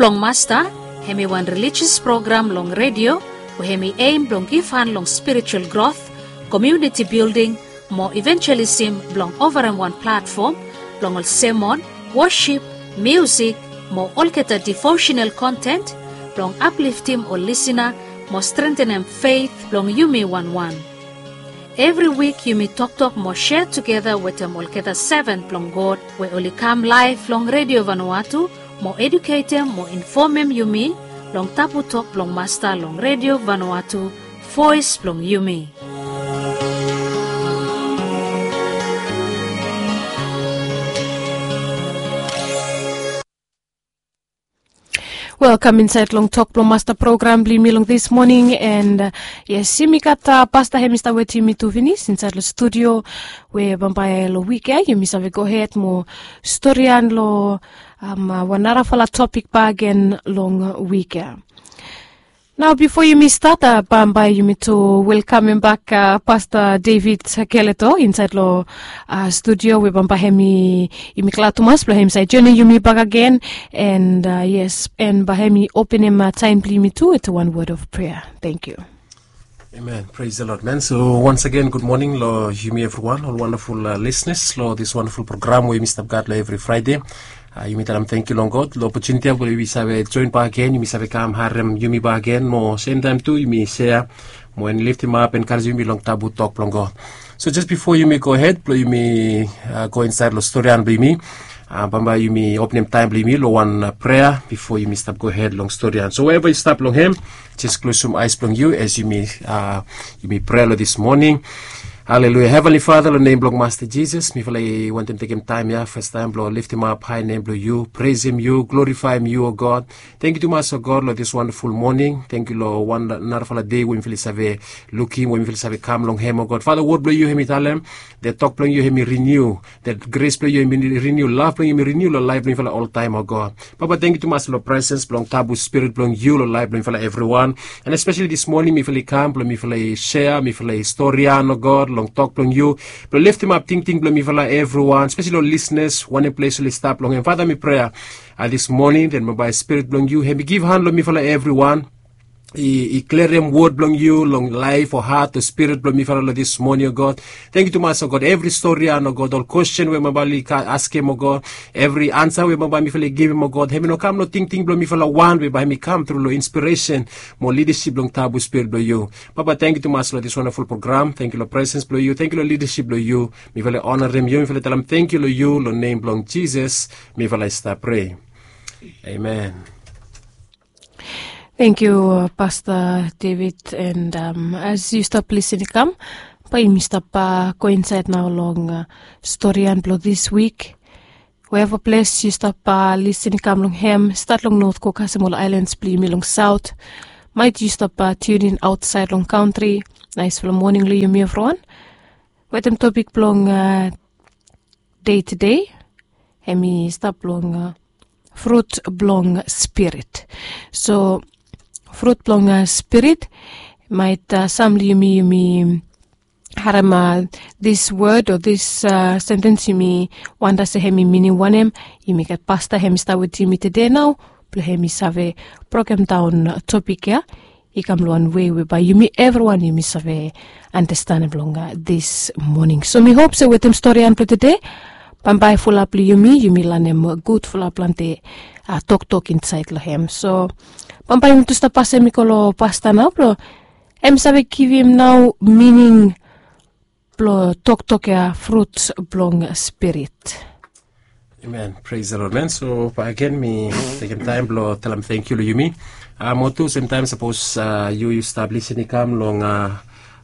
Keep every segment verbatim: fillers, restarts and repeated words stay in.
Blong Masta, hem i wan relijios program long redio we hem i aim blong givhan long spiritual growth, community building, mo evangelism blong ovarem wan platfom blong ol semon, wosip, miusik, mo olgeta devotional kontent blong apliftim ol lisina mo strentenem feit blong yumi wanwan. Evri wik yumi toktok mo sea tugeta wetem olgeta seven blong God we oli kam laef long redio Vanuatu mo eduketem mo infomem yumi long tabu tok blong Masta long redio Vanuatu, voes blong yumi. Welkam insaed long Tok Blong Masta program blong yumi long dis moning, and yes, yumi gat pasta hem i stap wetem yumi tu finis insaed long studio, we bambae long wik ya yumi save gohed mo storian long wan narafala topik bakegen long wik ya. Nao bifo yumi stat, bambae yumi tu welkamem bak pasta David Keleto insaed long studio, we bambae hem i yumi glad tumas blong hem i save joenem yumi bakegen. And yes, and bae hem i openem taem blong yumi tu wetem wan wod of prea. Tangkiu. Amen. Praise the Lord, man. So once again, good morning long yumi evriwan, ol wandaful lisnas long dis wandaful program we yumi stap gat long evri Fraede. Yumi talem tangkiu long God long opotuniti ya we yumi save joen bakegen, yumi save kam harem yumi bakegen mo semtaem tu yumi sea mo en liftimap, enkarejem yumi long tabu tok blong God. So jes bifo yumi gohed blong yumi go insaed long storian blong yumi, bambae yumi openem taem blong yumi long wan prea bifo yumi stap gohed long storian. So weeva yu stap long hem, jes klosum aes blong yu as yumi yumi prea long dis moning. Haleluia. Heavenly Father, long nem blong Masta Jisas, mifala i wantem tekem taem ya fastaem blong liftimap hae nem blong yu, presem yu, glorifaem yu, o God. Tangkiu tumas, o God, long dis wandaful moning. Tangkiu long wan narafala dei we mifala i save lukim, we mifala i save kam long hem, o God. Fada, wod blong yu hem i talem, det tok blong yu hem i riniu, det gres blong yu hem i riniu, lav blong yu hem i riniu long laef blong mifala oltaem, o God. Papa, tangkiu tumas long presens blong tabu spirit blong yu long laef blong mifala evriwan. And especially dis moning mifala i kam blong mifala i sea, mifala i storian, o God, long tok blong yu blong liftimap tingting blong mifala evriwan, especially long lisnas, wanem ples oli stap long hem. Fada, mi prea dis moning, den bambae spirit blong yu hem i givhan long mifala evriwan, i, i klerem wod blong yu long laef o hat o spirit blong mifala long dis moning, o God. Tangkiu tumas, o God, evri storian, o God, ol kwestin we bambae oli askem, o God, evri ansa we bambae mifala i givim, o God, hem i no kam long tingting blong mifala wan, be bae hem i kam tru long inspiresen mo lidasip blong tabu spirit blong yu. Papa, tangkiu tumas long dis wandaful program. Tangkiu long presens blong yu, tangkiu long lidasip blong yu. Mifala i onarem yu, mifala i talem tangkiu long yu, long nem blong Jisas mifala i stap prea. Amen. Tangkiu, Pasta David, and as yu stap lisin i kam, bae yumi stap go insaed nao long storian blong dis wik. Weeva ples yu stap lisin i kam long hem, stat long not go kasem ol aelans blong yumi long saot. Maet yu stap tiunin aotsaed long kantri, naesfala moning long yumi evriwan. Wetem topik blong dei tede, hem i stap long frut blong spirit. So frut blong spirit, maet sam long yumi yumi harem dis wod o dis sentens, yumi wanda se hem i minim wanem. Yumi gat pasta hem i stap wetem yumi tede nao blong hem i save brokemdaon topik ya i kam long wan wei we bae yumi evriwan yumi save andastanem long dis moning. So mi hop se wetem storian blong tede, bambae fulap long yumi yumi lanem gudfala plante toktok insaed long hem. So bambae yumi tu stap pasem i go long pasta nao blong hem i save givim nao mining blong toktok ya, frut blong spirit. Amen. Praise the Lord, man. So bae agen mi tekem taem blong talem tangkiu long yumi. Mo tu semtaem sapos yu yu stap lisin i kam long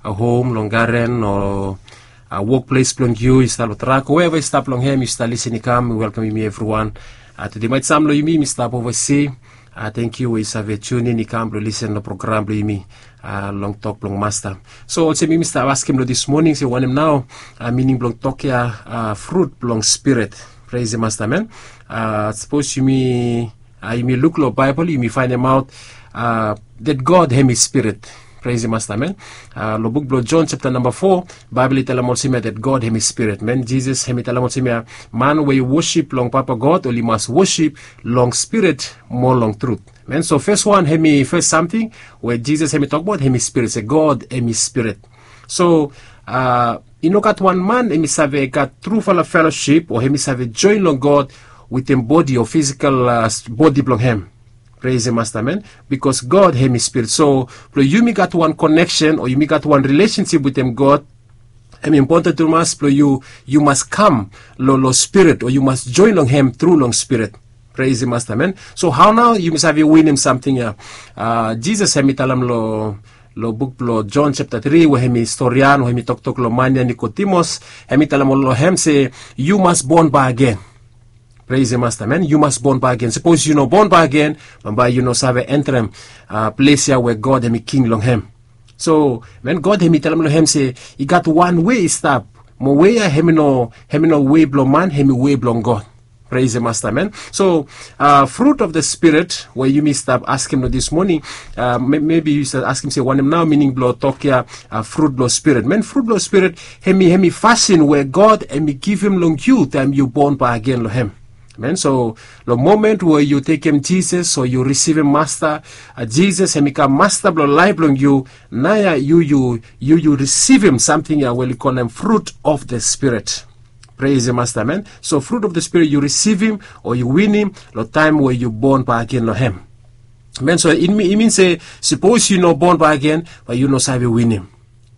hom, long garen o wokples blong yu, yu stap long trak o weeva yu stap long hem, yu stap lisin i kam, mi welkamem yumi evriwan. Tede maet sam long yumi yumi stap ovasi. Tangkiu we yu save tiunin i kam blong lisin long program blong yumi long tok blong Masta. So olsem yumi stap askem long dis moning se wanem nao mining blong tok ya, frut blong spirit. Praise the Master, man. Sapos yumi yumi luk long Baebol yumi faenemaot that God hem i spirit. Pres i masta men. Long buk blong Jon chapta namba fo, Baebol i talem olsem ya that God hem i spirit. Men Jisas hem i talem olsem ya, man we i wosip long Papa God oli mas wosip long spirit mo long trut. Men so fes wan hem i fes samting we Jisas hem i tokbaot hem i spirit, se God hem i spirit. So i no gat wan man hem i save gat trufala felosip o hem i save joen long God wetem bodi o fisikal bodi blong hem. Pres i masta men. Bikos God hem i spirit, so blong yumi gat wan koneksen o yumi gat wan rilesensip wetem God, hem i impoten tumas blong yu, yu mas kam long spirit o yu mas joen long hem tru long spirit. Pres i masta men. So hao nao yumi save winim samting ya? Jisas hem i talem long buk blong Jon chapta tri we hem i storian o hem i toktok long man ya Nikodimus, hem i talem long hem se, yu mas bon bakegen. Pres i masta men. Yu mas bon bakegen. Sapos yu no bon bakegen, bambae yu no save entrem ples ya we God hem i king long hem. So men God hem i talem long hem se, i gat wan we i stap, mo we ya hem i no, hem i no we blong man, hem i we blong God. Pres i masta men. So frut of the spirit we yumi stap askem long dis moning, mebi yu stap askem se wanem nao mining blong tok ya, frut blong spirit? Men frut blong spirit hem i, hem i fasin we God hem i givim long yu taem yu bon bakegen long hem. Men so long momen we yu tekem Jisas o yu risivim Masta Jisas hem i kam Masta blong laef blong yu, nao ya yu, yu, yu risivim samting ya we oli kolem frut of the spirit. Pres i masta men. So frut of the spirit yu risivim o yu winim long taem we yu bon bakegen long hem. Men so i min se, sapos yu no bon bakegen, bae yu no save winim.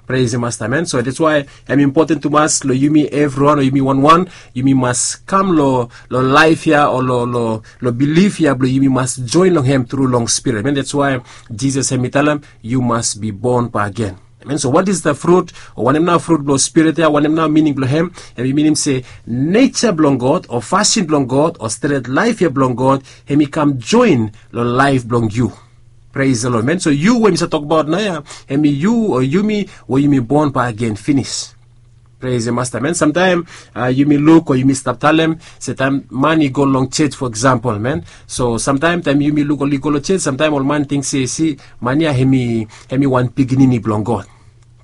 Pres i masta men. So dats wae hem i impoten tumas long yumi evriwan o yumi wanwan, yumi mas kam long laef ya o long bilif ya blong yumi mas joen long hem tru long spirit. Men dats wae Jisas hem i talem, yu mas bi bon bakegen. Men so wat is the frut o wanem nao frut blong spirit ya, wanem nao mining blong hem? Hem i minim se neja blong God o fasin blong God o stret laef ya blong God hem i kam joen long laef blong yu. Pres the Lord men. So yu we mi save tokbaot nao ya, hem i yu o yumi we yumi bon bakegen finis. Pres i masta men. Samtaem yumi luk o yumi stap talem se taem man i go long joj fo eksampol men, so samtaem taem yumi luk oli go long joj samtaem ol man ting se, si, man ya hem i, hem i wan pikinini blong God.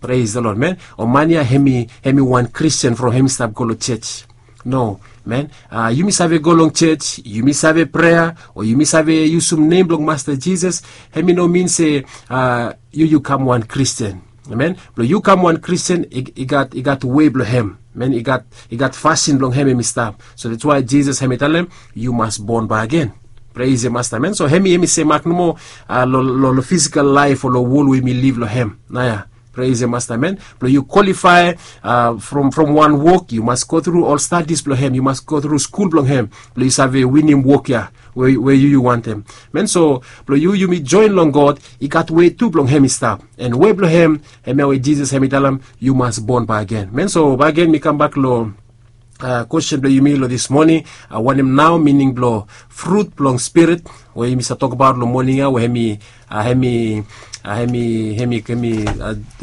Pres the Lord men. O man ya hem i, hem i wan Kristin from hem i stap go long joj. No men. Yumi save go long joj, yumi save prea o yumi save yusum nem blong Masta Jisas, hem i no min se yu, yu kam wan Kristin. Amen. Blong yu kam wan Kristin i gat, i gat we blong hem. Men i gat, i gat fasin blong hem hem i stap. So dats wae Jisas hem i talem, yu mas bon bakegen. Pres the Masta men. So hem i, hem i semak nomo long fisikal laef o long wol we yumi liv long hem nao ya. Pres the Masta men. Blong yu kwalifae from, from wan wok yu mas gotru ol stadis blong hem, yu mas gotru skul blong hem blong yu save winim wok ya we yu, yu wantem. Men so blong yu, yumi joen long God, i gat we tu blong hem i stap. An we blong hem, hemia we Jisas hem i talem, yu mas bon bakegen. Men so bakegen mi kambak long kwesten blong yumi long dis moning, wanem nao mining blong frut blong spirit we yumi save tokbaot long moning ya we hem i, hem i, hem i, hem i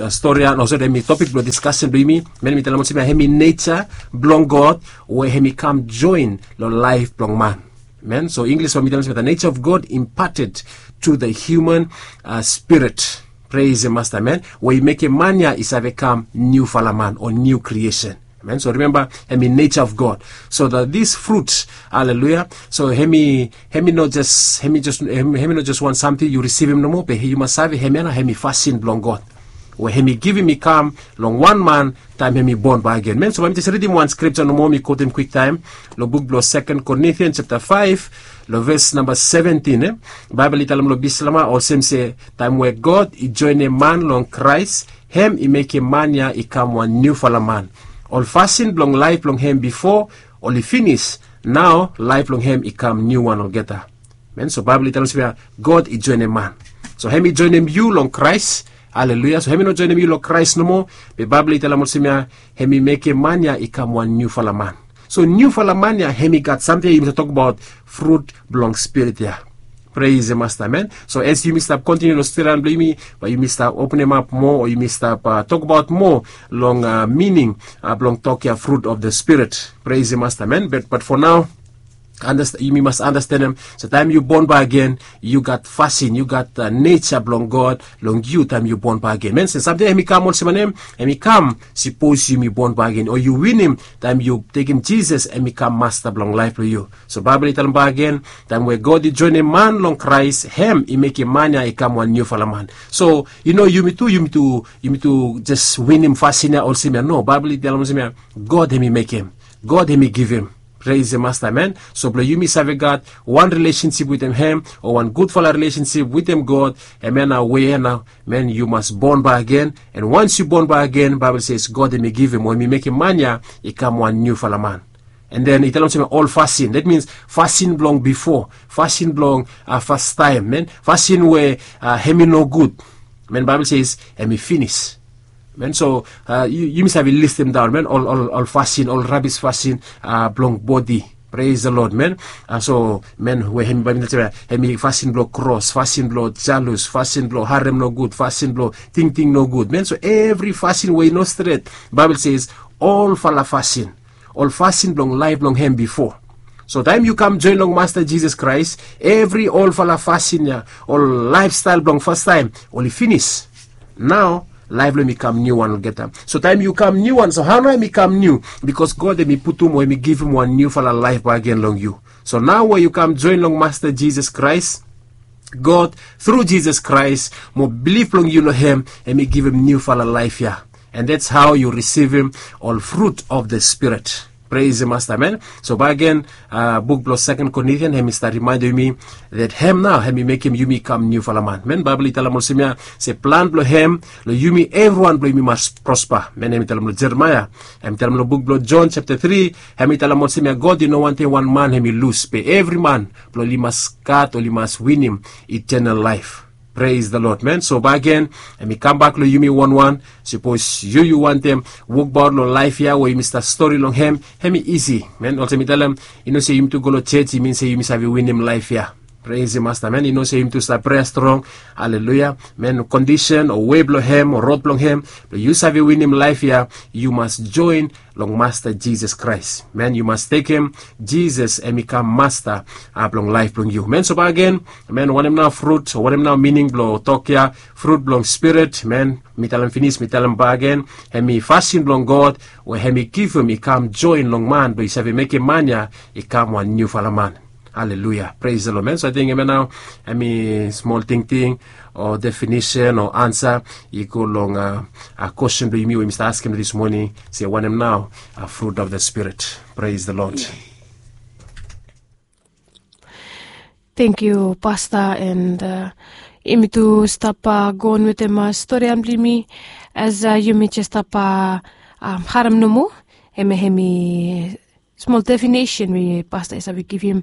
stori ya, no sori, hem i topik blong diskasen blong yumi. Men mi talem olsem ya hem i neja blong God we hem i kam joen long laef blong man. Men so Inglis we mi talem olsem ya the nature of God imparted to the human spirit. Pres the Masta men. We i mekem man ya i save kam niufala man o niu kriesen. Men so rimemba, hem i nature of God. So that this fruit, haleluya, so hem i, hem i no jes, hem i jes, hem i no jes wan samting yu risivim nomo be yu mas save hemia nao hem i fasin blong God we hem i givim i kam long wan man taem hem i bon bakegen. Men so bae mi jes ridim wan skripja nomo mi kotem kwiktaem long buk blong Second Corinthians chapta faef long ves namba seventin. Baebol i talem long Bislama olsem se, taem we God i joenem man long Kraes, hem i mekem man ya i kam wan niufala man. Ol fasin blong laef blong hem bifo oli finis, nao laef blong hem i kam niuwan olgeta. Men so Baebol i talem olsem ya God i joenem man. So hem i joenem yu long Kraes. Haleluya. So hem i no joenem yu long Kraes nomo, be Baebol i talem olsem ya hem i mekem man ya i kam wan niufala man. So niufala man ya hem i gat samting ya yumi save tokbaot frut blong spirit ya. Pres the Masta men. So as yumi stap kontiniu long stadi blong yumi, bae yumi stap openemap moa o yumi stap tokbaot moa long mining blong tok ya fruit of the spirit. Pres the Masta men. Bat, bat fo nao Yumi mas anastenem se taem yu bon bakegen, yu gat fasin, yu gat neja blong God long yu taem yu bon bakegen. Amen. Se samting hem i kam olsem wanem? Hem i kam sipos yumi bon bakegen o yu winim taem yu tekem Jisas hem i kam Masta blong laef blong yu. So Baebol i talem bakegen, taem we God i joenem man long Kraes, hem i mekem man ya i kam wan niufala man. So yu no, yumi tu, yumi tu, yumi tu jes winim fasin ya olsem ya. No, Baebol i talem olsem ya, God hem i mekem, God hem i givim. Pres the Masta, amen. So blong yumi save gat wan rilesensip wetem hem, o wan gudfala rilesensip wetem God, hemia nao we ya nao, amen, yu mas bon bakegen. And once yu bon bakegen, Baebol ses God hem i givim, o hem i mekem man ya i kam wan niufala man. And then i talem olsem ya ol fasin, that means fasin blong bifo, fasin blong fastaem, amen, fasin we hem i nogud, amen, Baebol ses hem i finis. Amen. So yumi save listem daon, amen, ol fasin, ol rabis fasin blong bodi. Pres the Lord, amen. So amen, we hem i, Baebol i talem olsem ya, hem i fasin blong kros, fasin blong jalus, fasin blong harem nogud, fasin blong tingting nogud, amen. So evri fasin we i no stret, Baebol ses olfala fasin, ol fasin blong laef blong hem bifo. So taem yu kam joen long Masta Jisas Kraes, evri olfala fasin ya, ol laefstael blong fastaem, oli finis. Nao laef blong hem i kam niuwan olgeta. So taem yu kam niuwan, so hao nao hem i kam niu? Bikos God hem i putum o hem i givim wan niufala laef bakegen long yu. So nao we yu kam joen long Masta Jisas Kraes, God, tru Jisas Kraes, mo bilif blong yu long hem, hem i givim niufala laef ya. And that's how yu risivim ol frut of the Spirit. Pres the Masta, amen. So bakegen, buk blong Seken Korintian hem i stap rimaendem yumi that hem nao hem i mekem yumi kam niufala man, amen. Baebol i talem olsem ya se plan blong hem long yumi evriwan blong yumi mas prospa, amen. Hem i talem long Jeremaea, hem i talem long buk blong Jon japta tri, hem i talem olsem ya, God i no wantem wan man hem i lus, be evri man blong oli mas gat, oli mas winim eternal life. Pres the Lord, amen. So bakegen, hem i kambak long yumi wanwan. Sipos yu, yu wantem wokbaot long laef ya we yumi stap stori long hem, hem i isi, amen. Olsem mi talem, i no se yumi tu go long jos i min se yumi save winim laef ya. Pres the Masta, amen. I no se yumi tu stap prea strong, aleluia, amen. Kondisen o wei blong hem o rod blong hem blong yu save winim laef ya, yu mas joen long Masta Jisas Kraes, amen. Yu mas tekem Jisas hem i kam Masta blong laef blong yu, amen. So bakegen, amen, wanem nao frut o wanem nao mining blong tok ya, frut blong Spirit, amen? Mi talem finis, mi talem bakegen, hem i fasin blong God we hem i givim i kam joen long man blong i save mekem man ya i kam wan niufala man. Aleluia. Pres the Lord, amen. So ating hemia nao hem i smol tingting o definisen o ansa i go long a kwesten blong yumi we yumi stap askem dis moning, se wanem nao a frut of the Spirit. Pres the Lord. Tangkiu pasta, and yumi tu stap go on wetem storian blong yumi. As yumi jes stap harem nomo, hemia hem i smol definisen we pasta i save givim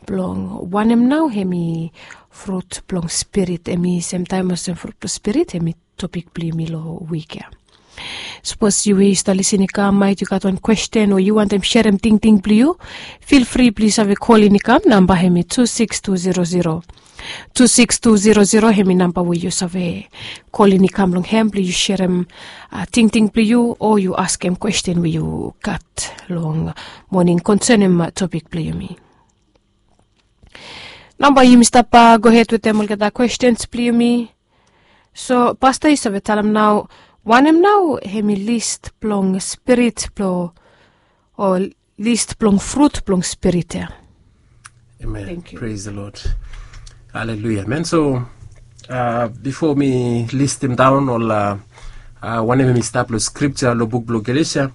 blong wanem nao hem i frut blong Spirit, hem i semtaem olsem frut blong Spirit hem i topik blong yumi long wik ya. Sapos yu we yu stap lisin i kam, maet yu gat wan kwesten o yu wantem serem tingting blong yu, fil fri blong yu save kolin i kam. Namba hem i tu sikis tu zero zero, tu sikis tu zero zero, hem i namba we yu save kolin i kam long hem blong yu serem tingting blong yu o yu askem kwesten we yu gat long moning konsenem topik blong yumi. Nao bae yumi stap gohed wetem olgeta kwestens blong yumi. So pasta, yu save talem nao wanem nao hem i lis blong spirit blong, o lis blong frut blong spirit ya? Amen. Thank you. Praise the Lord. Haleluia, amen. So bifo mi listim daon ol wanem hem i stap long skripta long buk blong Galesia,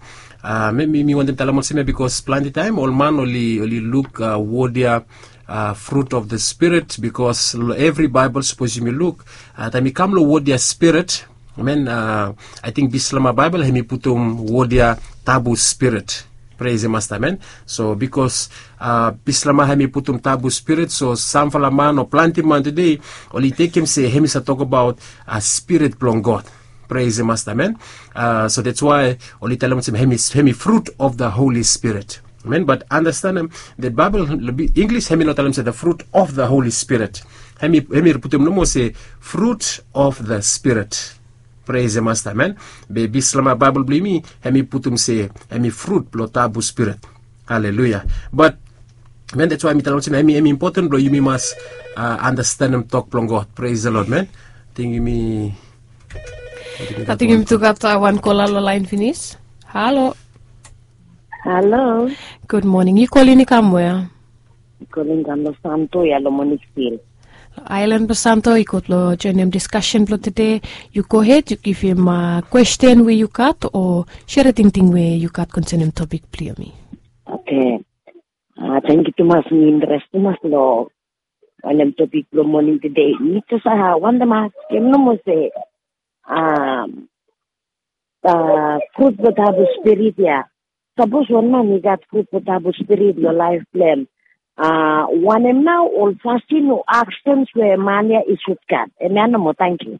mi wantem talem olsem ya, bikos plante taem ol man oli luk wod ya fruit of the spirit, bikos long evri Baebol, sapos yumi luk, taem i kam long wod ya spirit, amen, ating Bislama Baebol hem i putum wod ya tabu spirit. Praise the Master, amen. So bikos Bislama hem i putum tabu spirit, so samfala man o plante man tede oli tekem se hem i save tokbaot spirit blong God. Praise the Master, amen. So that's why oli talem olsem hem i fruit of the Holy Spirit. Amen. But understand that Baebol, Inglis hem i no talem se the fruit of the Holy Spirit. Hem i putum nomo se fruit of the spirit. Praise the Master, amen. Be Bislama Baebol blong yumi hem i putum se hem i fruit blong tabu spirit. Haleluia. But Men, that's why mi talem olsem em i impoten blong yumi mas andastanem tok blong God. Praise the Lord, men. Ting yumi. Ating yumi tu gat wan kola long lain finis. Halo. Halo. Gud moning, yu kolin i kam wea? Kolin kam long Santo ya long Monik Stil. Ailan blong Santo i got long joinim diskasen blong tude. Yu gohed, yu givim kwesten we yu gat o sere tingting we yu gat konsenim topik blong yumi. Oke. Tangkiu tumas, mi interes tumas long wanem topik blong moning tude. Mi jes wantem askem nomo se, frut blong tabu spirit ya. Sapos wan man i gat frut blong tabu spirit long laef blong em, wanem nao ol fasin o aksens we man ya i sud gat? Em ya nomo, tangkiu.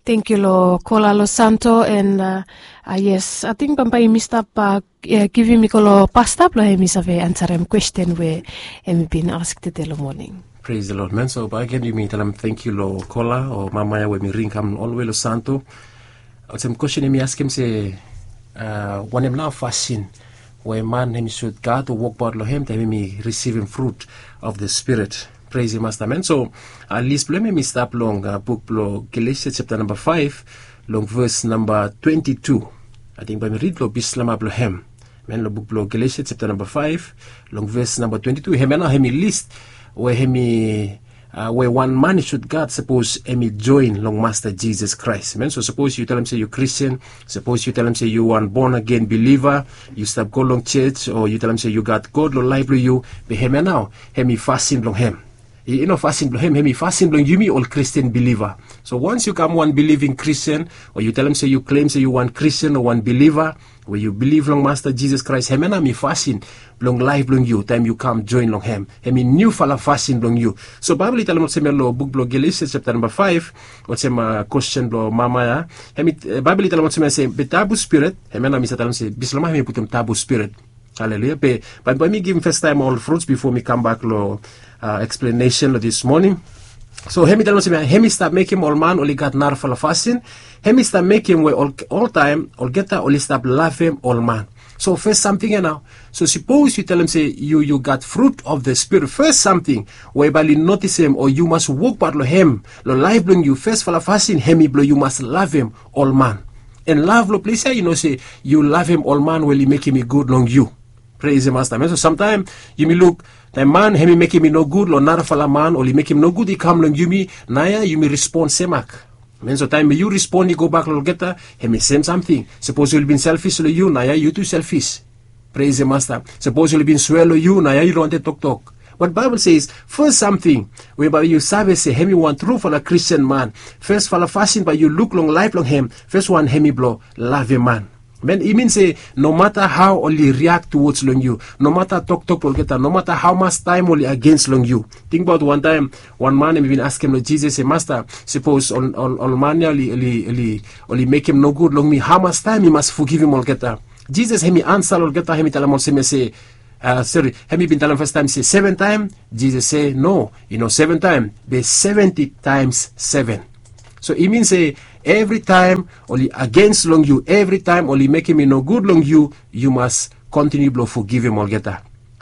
Tangkiu long kola long Santo. And yes, ating bambae yumi stap givim i go long pasta blong hem i save ansarem kwesten we hem i bin ask tude long moning. Praise the Lord, man. So bae gen yumi talem tangkiu long kola o mama ya we mi ring kam olwe long Santo. Olsem kwesten hem i askem se, wanem nao fasin we man hem i sud gat o wokbaot long hem taem hem i risivim frut of the spirit? Praise him, Master, man. So lis blong hem hem i stap long buk blong Galesia chapta namba faef, long ves namba twenti tu. Ating bae mi rid long bislama blong hem. Men, long buk blong Galesia chapta namba faef, long ves namba twenti tu, hem ya nao hem i lis we hem i we wan man i sud gat sapos hem i joen long Masta Jisas Kraes. Men, so sapos yu talem se yu Kristin, sapos yu talem se yu wan bon agen biliva, yu stap go long jos o yu talem se yu gat God long laef blong yu, be hem ya nao hem i fasin blong hem. I no fasin blong hem, hem i fasin blong yumi ol Kristin biliva. So wans yu kam wan biliving Kristin o yu talem se yu klem se yu wan Kristin o wan biliva we yu biliv long Masta Jisas Kraes, hem ya nao hem i fasin blong laef blong yu taem yu kam joen long hem. Hem i niufala fasin blong yu. So Baebol i talem olsem ya long buk blong Galesia chapta namba faef, olsem kwesten blong mama ya. Baebol i talem olsem ya se be tabu spirit, hem ya nao mi save talem se bislama hem i putum tabu spirit. Haleluya. Be bae mi givim fastaem ol fruts bifo mi kambak long eksplenesen long dis moning. So hem i talem olsem ya, hem i stap mekem ol man oli gat narafala fasin. Hem i stap mekem we oltaem olgeta oli stap lavem ol man. So fes samting ya nao, so sapos yu talem se yu yu gat frut of the spirit, fes samting we bae oli notisem o yu mas wokbaot long hem long laef blong yu, fesfala fasin hem i blong yu mas lavem ol man. And lav long ples ya i no se yu lavem ol man we oli mekem i gud long yu. Praise the Master, man. So samtaem yumi luk taem man hem i mekem i nogud long narafala man, oli mekem nogud i kam long yumi, naoia yumi respon semak. Man, so taem yu respon i gobak long olgeta, hem i sem samting. Sapos oli bin selfis long yu, naoia yu tu selfis. Praise the Master. Sapos oli bin swea long yu, naoia yu no wantem toktok. Bat Baebol i se fes samting we bae yu save se hem i wan trufala Kristin man, fesfala fasin bae yu luk long laef blong hem, fes wan hem i blong lavem man. Man, i min se nomata hao oli riak tuwods long yu, nomata toktok blong olgeta, nomata hamas taem oli agens long yu. Tingbaot wantaem wan man hem i bin askem long Jisas se, Masta, sapos ol man ya oli mekem nogud long mi, hamas taem mi mas fogivim olgeta? Jisas hem i ansa long olgeta, hem i talem olsem ya se, sori, hem i bin talem fastaem se seven taem. Jisas se, no, i no seven taem, be seventi taems seven. So i min se evritaem oli agens long yu, evritaem oli mekem i nogud long yu, yu mas kontiniu blong fogivim olgeta.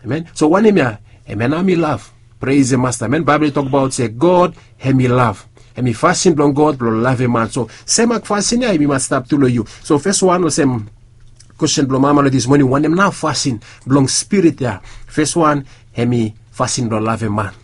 Amen. So wanem ya? Hem ya nao hem i lav. Praise the Master. Amen. Baebol i tokbaot se God hem i lav. Hem i fasin blong God blong lavem man. So semak fasin ya hem i mas stap tu long yu. So fes wan, olsem kwesten blong mama long dis moning, wanem nao fasin blong spirit ya? Fes wan, hem i fasin blong lavem man.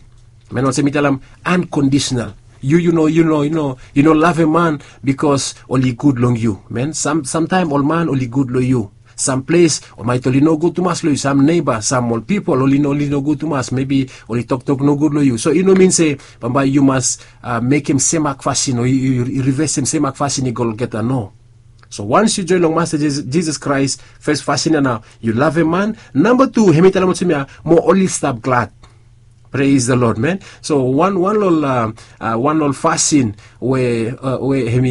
Man, olsem mi talem, ankondisonal. Yu yu no yu no yu no lavem man bikos oli gud long yu. Man, samtaem ol man oli gud long yu. Sam ples ol maet oli nogud tumas long yu, sam neba, sam ol pipol oli nogud tumas, mebi oli toktok nogud long yu. So i no min se bambae yu mas mekem semak fasin o yu rivesem semak fasin i go long olgeta, no. So wans yu joen long Masta Jisas Kraes, fes fasin ya nao yu lavem man. Namba tu, hem i talem olsem ya, mo oli stap glad. Praise the Lord, man. So wan wan long ol fasin we hem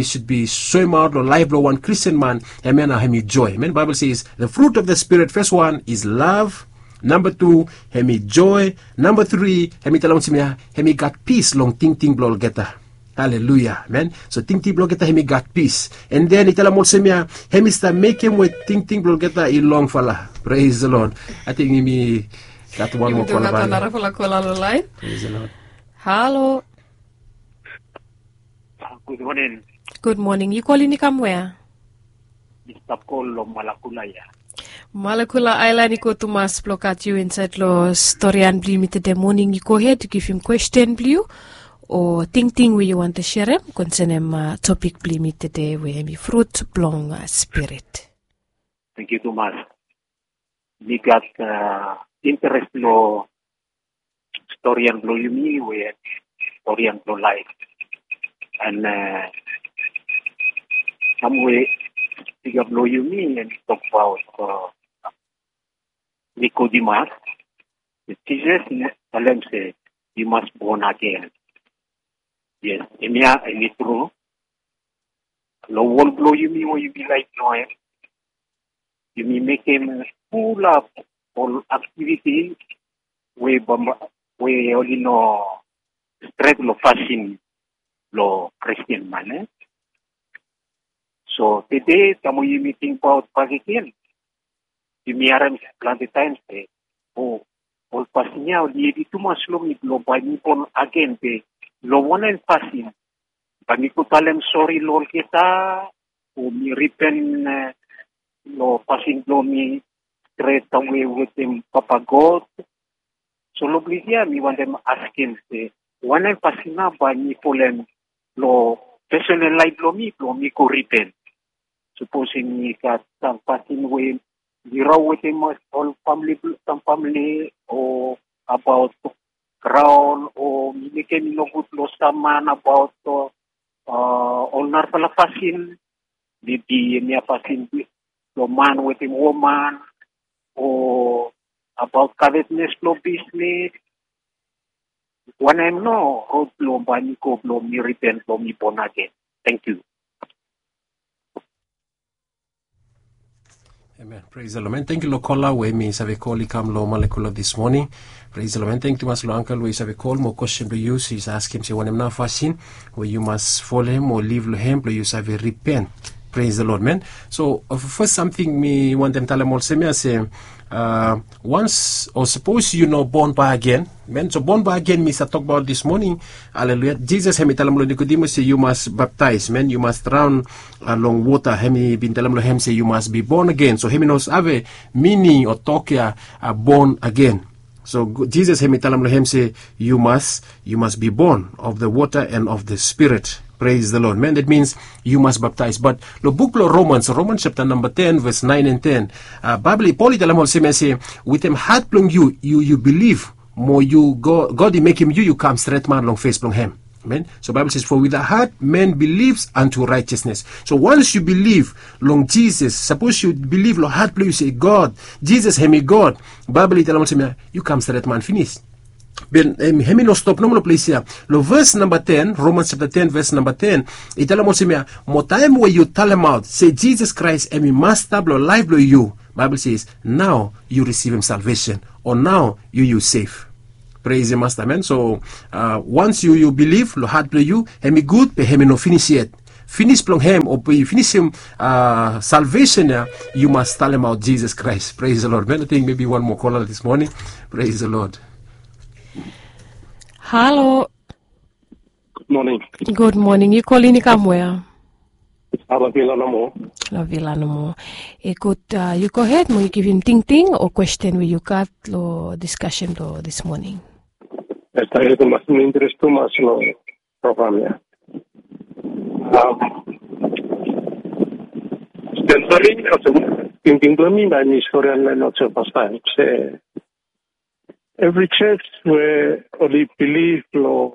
i sud bi soemaot long laef blong wan Kristin man, hem ya nao hem i joe. Man, Baebol i se the fruit of the Spirit, fes wan is lav. Namba tu, hem i joe. Namba tri, hem i talem olsem ya, hem i gat pis long tingting blong olgeta. Haleluya, amen. So tingting blong olgeta hem i gat pis. And then i talem olsem ya, hem i stap mekem we tingting blong olgeta i longfala. Praise the Lord. Ating yumi gat wan moa kola bali. Narafala kola long lain. Praise the Lord. Halo. Gud moning. Gud moning. Yu kolini kam wea? Mista Pol long Malakula ya. Malakula aelan i go tumas blong gat yu insaed long storian blong yumi tede moning. Yu gohed yu givim kwesten blong yu o tingting we yu wantem serem konsenem topik blong yumi tede we hem i frut blong spirit. Tangkiu tumas. Mi gat interes long storian blong yumi we storian blong laef. And samwe spika blong yumi hem i tokbaot Nikodimas, Jisas i talem se yu mas bon agen. Yes, hemia hem i tru. Long wol blong yumi we yumi laef long hem, yumi mekem fulap ol aktiviti we bambae we oli no stret long fasin blong Kristin man. So tede taem we yumi tingbaot bakegen, yumi harem plante taem se o ol fasin ya oli hevi tumas long mi blong bae mi bon agen, be long wanem fasin? Bae mi go talem sori long olgeta o mi ripen long fasin blong mi stret awe wetem Papa God? So long ples ya mi wantem askem se wanem fasin nao bae mi folem long pesonal laef blong mi blong mi go ripen? Sapos yumi gat sam fasin we mi rao wetem ol famle, sam famle, o abaot graon, o mi mekem i nogud long sam man abaot ol narafala fasin, mebi hemia fasin blong man wetem woman, o abaot kavetnes blong bisnes. Wanem nao rod blong bae mi go blong mi ripen blong mi bon agen? Tangkiu. Amen. Praise the Lord, man. Tangkiu long kola we mi save kol i kam long Malakula this morning. Praise the Lord, man. Tangkiu tumas long angkel we i save kol mo kwesten blong yu, i save askem se wanem nao fasin we yu mas folem o liv long hem blong yu save ripen. Praise the Lord, man. So fes samting mi wantem talem olsem ya se, wans o sapos yu no bon bakegen, man. So bon bakegen mi save tokbaot this morning. Haleluya. Jisas hem i talem long Nikodimas se yu mas baptaes, man, yu mas draon long wota. Hem i bin talem long hem se yu mas bi bon agen. So hem i no save mining o tok ya bon agen. So Jisas hem i talem long hem se yu mas, yu mas bi bon of the water and of the Spirit. Praise the Lord, man. That means yu mas baptaes. But long buk blong Romans, Romans chapter namba ten, ves naen and ten, Baebol, Pol i talem olsem ya se wetem hat blong yu yu bilif mo yu, God i mekem yu yu kam stret man long fes blong hem. Amen. So Baebol says, for with the heart man believes unto righteousness. So wans yu bilif long Jisas, sapos yu bilif long hat blong yu se God, Jisas hem i God, Baebol i talem olsem ya yu kam stret man finis. Be hem i no stop nomo long ples ya. Long ves namba ten, Romans chapter ten, ves namba ten, i talem olsem ya, mo taem we yu talemaot se Jisas Kraes hem i Masta blong laef blong yu, Baebol says nao yu risivim salvesen, o nao yu yu sef. Praise the Master, man. So wans yu yu bilif long hat blong yu, hem i gud be hem i no finis yet. Finis blong hem o be finisim salvesen ya, yu mas talemaot Jisas Kraes. Praise the Lord, man. Ating mebi wan moa kola this morning. Praise the Lord. Halo. Gud moning. Gud moning. Yu kolini kam wea? Long Vila nomo. Long Vila nomo. I gud, yu gohed mo yu givim tingting o kwesten we yu gat long diskasen blong this moning. Yes, tangkiu tumas, mi interes tumas long program ya. Am, stori olsem, tingting blong mi, bae mi stori long olsem fastaem se evri jos we oli bilif long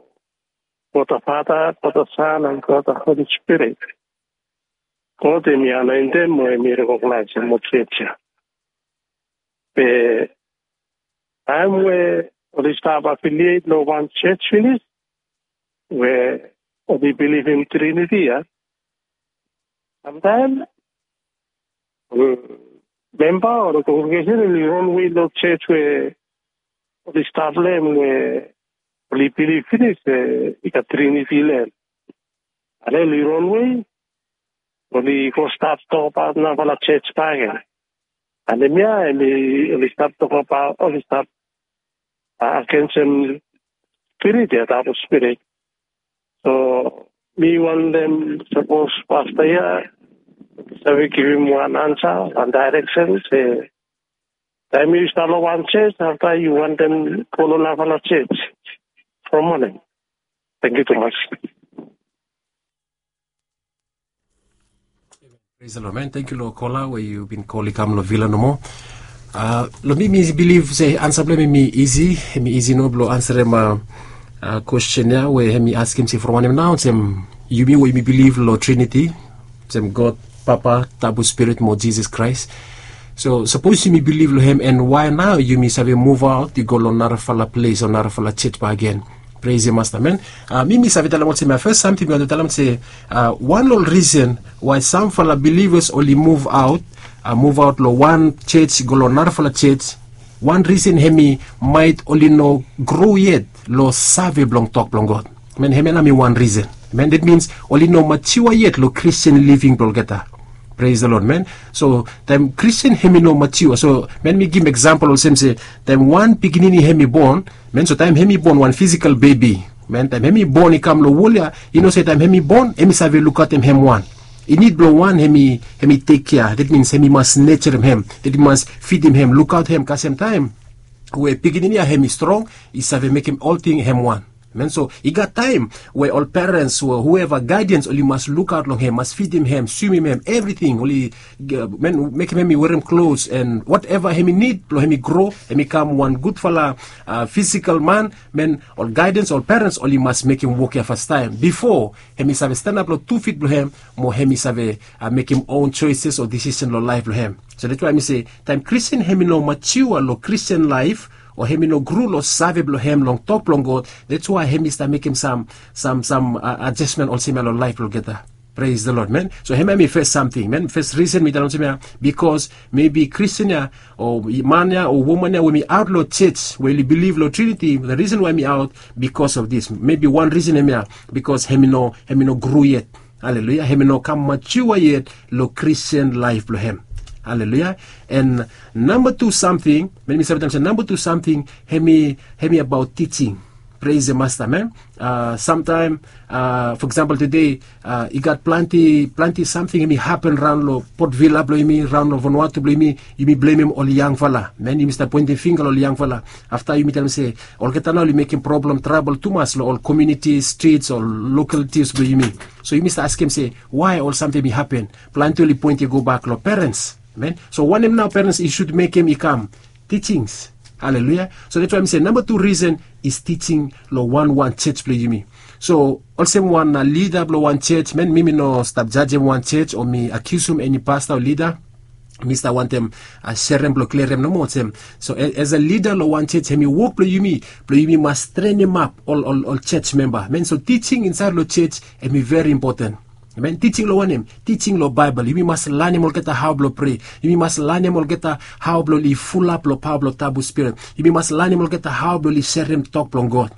God the Father, God the Son, and God the Holy Spirit, God hem i anoentem mo hem i rekognaesem ol jos ya. Be taem we oli stap afiliet long wan jos finis we oli bilivim Triniti ya, samtaem memba o kongregesen oli ronwe long jos we oli stap long hem we oli bilif finis se i gat Triniti long hem. Ale oli ronwe, oli go stat tokbaot narafala jej bakegen. Anemia em i oli stap tokbaot, oli stap agensim spirit ya, dabol spirit. So mi wantem sapos pasta ya save givim wan ansa, wan daireksen se taem yu stap long wan jej, afta yu wantem go long narafala jej from moning. Thank you tumas. Praise the Lord, man. Thank you long kola we yu bin kol i kam long vila nomo. Uh, long mi mi bilif se ansa blong mi mi isi, mi isi no blong ansarem uh, uh, question ya we mi askim se from wanem nao sem yumi we yumi bilif long Trinity, sem God Papa, Tabu Spirit mo Jesus Christ. So sapos yumi bilif long hem, and why nao yumi save muv aot i go long narafala ples o narafala jej bakegen? Praise the Master, man. Uh, mi mi save talem olsem ya, first samting mi wantem talem se uh, wan long risen why samfala bilivas oli muv aot, uh, muv aot long wan jej go long narafala jej. Wan risen hem i maet oli no gro yet long save blong tok blong God. Man, hem ya nao mi wan risen. Man, that means oli no matiua yet long Christian living blong olgeta. Praise the Lord, man. So taem Christian hem i no matiua, so man, mi givim example olsem se taem wan pikinini hem i bon, man, so taem hem i bon wan physical baby, man, taem hem i bon i kam long wol ya, i no se taem hem i bon hem i save lukaotem hem wan. I nid blong wan hem i, hem i tekkea. That means hem i mas nejerem hem, that i mas fidim hem, lukaot hem kasem taem we pikinini ya hem i strong, i save mekem olting hem wan. Man, so i gat taem we ol perens o hueva gaidens oli mas lukaot long hem, mas fidim hem, swimim hem, evriting, oli, man, mekem hem i werem klos and whatever hem i nid blong hem i gro, hem i kam wan gudfala uh, physical man. Man, ol gaidens, ol perens oli mas mekem wok ya fastaem bifo hem i save stanap long tu fit blong hem mo hem i save uh, mekem own choices o decision long laef blong hem. So that's why mi se taem Christian hem i no matiua long Christian laef o hem i no gru long save blong hem long tok blong God, that's why hem i stap mekem sam, sam, sam uh, adjustment olsem ya long laef blong olgeta. Praise the Lord, man. So hem ya mi fes samting, man. Fes risen mi talem olsem ya, bikos maybe Christian ya o man ya o woman ya we mi aot long jej we oli bilif long Trinity, the reason why mi aot, bikos of this. Maybe wan risen hem ya, bikos hem i no, hem i no gru yet. Haleluya. Hem i no kam matiua yet long Christian laef blong hem. Haleluya. And namba tu samting, man, mi save talem se namba tu samting hem i, hem i abaot tijing. Praise the Master, man. Uh, samtaem, uh, for example, tede uh, i gat plante, plante samting hem i hapen raon long Port Vila blong yumi, raon long Vanuatu blong yumi, yumi blemem ol yangfala. Man, yumi stap poentem finga long ol yangfala. Afta yumi talem se olgeta nao oli mekem problem, trabol tumas long ol community, streets o localities blong yumi. So yumi stap askem se why ol samting hem i hapen. Plante oli poentem i go bak long perens. Amen. So wanem nao perens i sud mekem i kam? Teachings. Haleluya. So that's why mi se namba tu risen is teaching long wan wan jej blong yumi. So olsem wan uh, lida blong wan jej, man, mi mi no stap jajem wan jej o mi akiusum eni pasta o lida. Mi stap wantem uh, serem blong kliarem nomo olsem. So as a lida long wan jej, hem i wok blong yumi blong yumi mas trenemap ol, ol, ol jej memba. Man, so teaching insaed long jej hem i veri impoten. Amen. Teaching long wanem? Teaching long Baebol. Yumi mas lanem olgeta hao blong prea. Yumi mas lanem olgeta hao blong oli fulap long paoa blong Tabu Spirit. Yumi mas lanem olgeta hao blong oli serem tok blong God.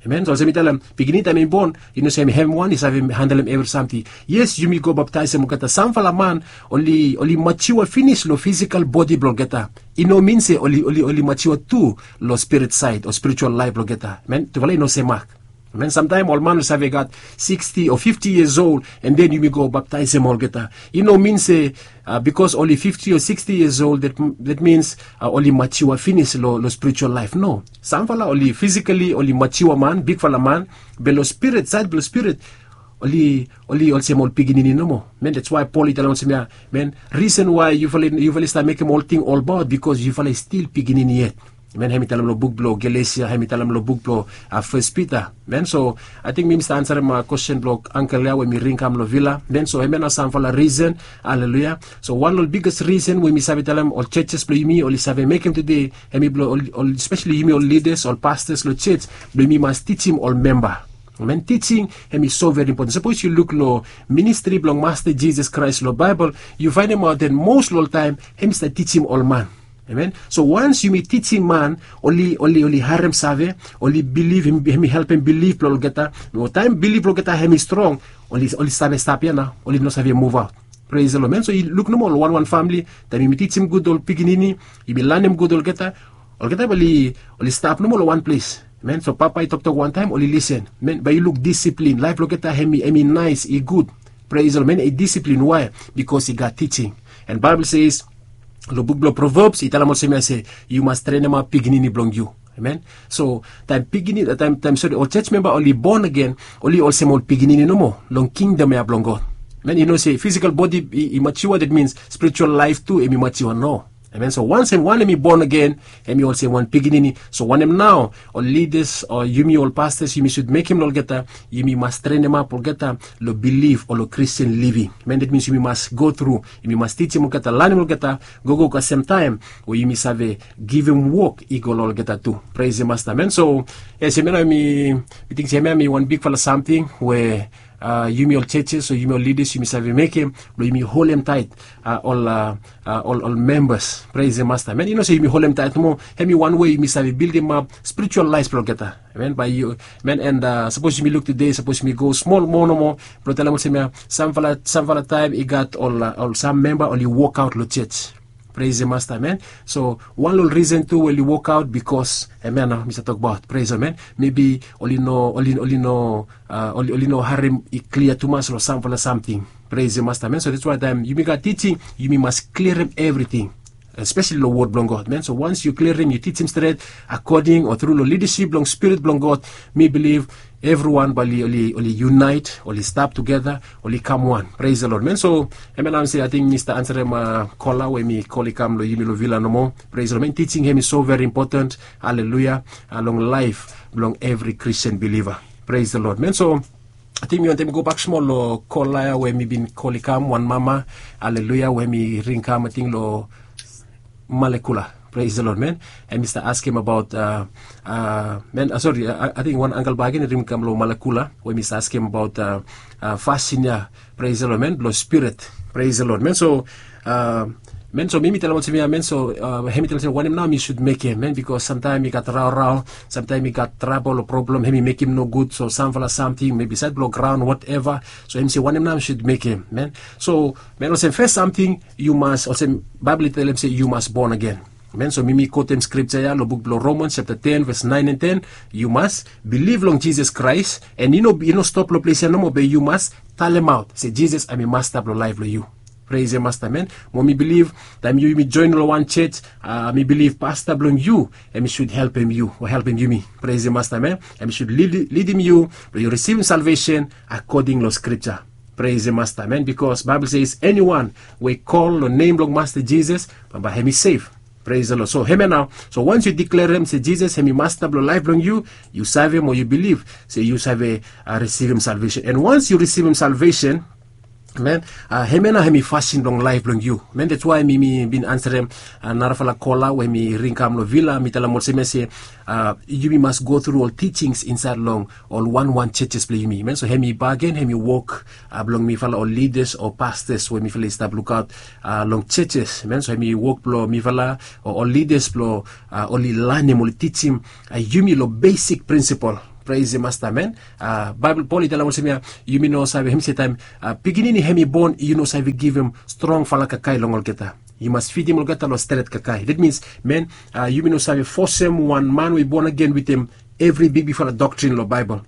Amen. So olsem mi talem, pikinini taem hem i bon, i no se hem wan i save handlem evri samting. Yes, yumi go baptaesem olgeta. Samfala man oli, oli matiua finis long fisikal bodi blong olgeta. I no min se oli, oli, oli matiua tu long spirit saed o spiritual laef blong olgeta. Amen. Tufala i no semak. Amen. Samtaem ol man oli save gat sixty o fifty years old, and then yumi go baptaesem olgeta. I no min se uh, bikos oli fifty o sixty years old, that, that means uh, oli matiua finis long, long spiritual laef. No. Samfala oli physically oli matiua man, bigfala man, be long spirit, saed blong spirit oli, oli olsem ol pikinini nomo. Man, that's why Paul i talem olsem ya, man, reason why yufala, yufala i stap mekem olting olbaot, bikos yufala i stil pikinini yet. Man, hem i talem long buk blong Galesia, hem i talem long buk blong uh, First Peter. Man, so ating mi mi stap ansarem uh, kwestin blong angkel ya we mi ring kam long vila. Man, so hem ya nao samfala risen. Haleluya. So wan long ol biges risen we mi save talem ol jejes blong yumi oli save mekem tede, hem i blong ol, ol, especially yumi ol lidas, ol pastas long jej, blong yumi mas tijim ol memba. Amen. Teaching hem i so veri impoten. Sapos yu luk long ministri blong Masta Jisas Kraes long Baebol, yu faenemaot that mos long ol taem hem i stap tijim ol man. Amen. So wans yumi tijim man, oli, oli, oli harem save, oli bilif, hem, hem i helpem bilif blong olgeta. Mo taem bilif blong olgeta hem i strong, oli oli save stap ya nao, oli no save muvaot. Pres long men. So yu luk nomo ol wanwan famili, taem yumi tijim gud ol pikinini, yumi lanem gud olgeta, olgeta bae oli oli stap nomo long wan ples. Men, so papa i toktok wantaem, oli lisen. Men, bae yu luk disiplin, laef blong olgeta hem i naes, i gud. Pres long men, i disiplin. Wae? Bikos i gat tijing. And Baebol se, long buk blong Proverbs i talem olsem ya se, yu mas trenemap pikinini blong yu. Amen. So taem pikinini, taem taem sori, ol church member oli born again, oli olsem ol pikinini nomo long kingdom ya blong God. Men, yu no se physical body i, i mature, that means spiritual life tu hem i mature, no. Amen. So wansem wan hem i born again, hem i olsem wan pikinini. So wanem nao ol leaders o yumi ol pastors yumi should mekem long olgeta, yumi mas trenemap olgeta long bilif o long Christian living. Men, that means yumi mas go tru, yumi mas tijim olgeta, lanem olgeta, gogo kasem taem we yumi save givim wok i go long olgeta tu. Pres the Master. Men, so yes, hemia nao mi mi ting se hemia mi wan bigfala samting we a yumi ol churches o yumi ol leaders yumi save mekem blong yumi holem taet a ol a ol ol members. Pres the Master. Men, yu no se yumi holem taet nomo, hem i wan wei yumi save bildimap spiritual laef blong olgeta. Men, bae yu, men, and a sapos yumi luk tede, sapos yumi go smol moa nomo, blong talem olsem ya, samfala samfala taem i gat ol a ol sam memba oli wokaot long church. Pres the Master. Men, so wan long ol risen tu we oli wokaot bikos, amen, nao mi save tokbaot, pres, amen, mebi oli no oli oli no a oli oli no harem i klia tumas long samfala samting. Pres the Master. Men, so that's why taem yumi gat tijing, yumi mas klirim evriting, espeseli long wod blong God. Men, so waens yu klirim, yu tijim stret akoding o tru long lidasip blong Spirit blong God, mi bilif evriwan bae oli oli oli yunaet, oli stap tugeta, oli kam wan. Pres the Lord. Men, so hemia nao mi se ating mi stap ansarem a kola we mi kol i kam long yumi long vila nomo. Pres the Lord. Men, tijing hem i so veri impoten, aleluia, a long laef blong evri Christian biliva. Pres the Lord. Men, so ating mi wantem gobak smol long kola ya we mi bin kol i kam, wan mama, aleluia, we mi ring kam ating long Malekula. Pres the Lord. Men, hem i stap askem abaot a a men, a sori, ating wan angkel bakegen i ring kam long Malekula we mi stap askem abaot a a fasin ya, pres the Lord, men, blong spirit. Pres the Lord. Men, so a men, so mi mi talem olsem ya, men, so a hem i talem olsem wanem nao mi should mekem, men, bikos samtaem i gat raorao, samtaem i gat trabol o problem, hem i mekem nogud, so samfala samting mebi saed blong graon, whatever. So hem i se wanem nao mi should mekem, men. So men, olsem fes samting yu mas, olsem Baebol i talem se yu mas born again. Men, so mi mi kotem skripja ya long buk blong Romans chapter ten verse nine and ten. Yu mas bilif long Jisas Kraes, and yu no yu no stop long ples ya nomo, be yu mas talemaot se Jisas hem i Masta blong laef blong yu. Pres the Master. Men, mo mi bilif taem yu yumi joen long wan church, a mi bilif pasta blong yu hem i should helpem yu o helpem yumi. Pres the Master. Men, hem i should lidim yu blong yu risivim salvesen akoding long skripja. Pres the Master. Men, bikos Baebol se eniwan we i kol long nem blong Masta Jisas, bambae hem i sef. Pres the Lord. So hemia nao, so waens yu diklerem se Jisas hem i Masta blong laef blong yu, yu save mo yu bilif se yu save a risivim salvesen. And waens yu risivim salvesen, men, a hemia nao hem i fasin blong laef blong yu. Men, that's why mi mi bin ansarem a narafala kola we mi ring kam long vila, mi talem olsem ya se a yumi mas go tru ol tijings insaed long ol wanwan churches blong yumi. Men, so hem i bakegen, hem i wok a blong mifala ol leaders o pastors we mifala i stap lukaot a long churches. Men, so hem i wok blong mifala o ol leaders blong a oli lanem, oli tijim a yumi long besik prinsipol. Pres the Master. Men, a Baebol, Pol i talem olsem ya, yumi no save, hem i se taem a pikinini hem i bon, yu no save givim strongfala kakae long olgeta. Yu mas fidim olgeta long stret kakae. That means, men, a yumi no save fosem wan man we i born again wetem evri bigbigfala doktrin long Baebol.